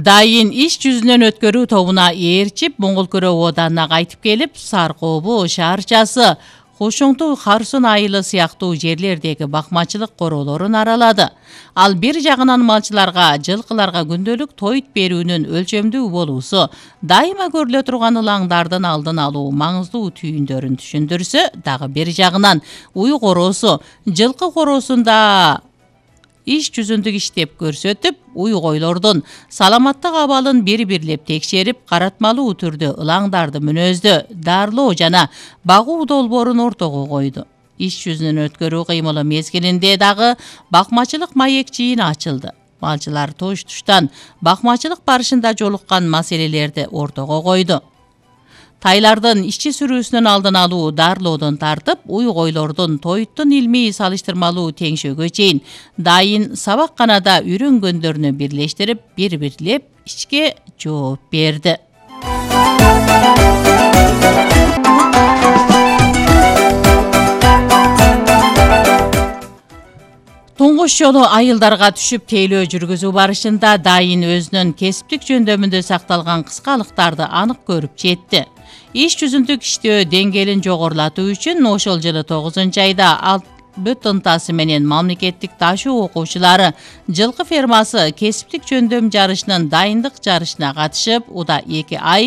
Дайын иш жүзүнөн өткөрүү тобуна ээрчип, Моңгол Көрө Оданына кайтып келип, Саркобу шаарчасы, Кошоңту, Харсын айылы сыяктуу жерлердеги бакмачылык королорун аралады. Ал бир жагынан малчыларга, жылкыларга күндөлүк тойт берүүнүн өлчөмдүү болуусу, дайыма көрүлө турган ылаңдардын алдын алуу маңыздуу түйүндөрүн түшүндүрсө, дагы бир жагынан уй короосу, жылкы короосунда иш жүзүндүк иштеп көрсөтүп, уй койлордун саламаттык абалын бирлеп текшерип, каратмалуу түрдө ылаңдарды мүнөздө, дарылоо жана багуу долбоорун ортого койду. Иш жүзүнөн өткөрүү кыймылы мезгилинде дагы бакмачылык маекчиин ачылды. Малчылар туш-туштан бакмачылык барышында жолуккан маселелерди ортого койду. Тайлардын ишчи сүрүүсүнүн алдын алуу, дарылоодон тартып, уй койлордун тоyттун илмий салыштырмалуу теңшөөгө чейин дайын сабакканада үйрөнгөндөрүнү бирлештирип, бирлеп ишке жооп берди. Туңгуш жолу айылдарга түшүп тейлөө жүргүзүү барышында дайын өзүнүн кесиптик жөндөмүндө сакталган кыскалыктарды анык көрүп жетти. Иш жүзүндүк иштөө деңгээлин жогорулатуу үчүн ошол жылы 9-айда ал бүт ынтасы менен мамлекеттик ташуу окуучулары жылкы фермасы кесиптик жөндөм жарышынын дайындык жарышына катышып, уда 2 ай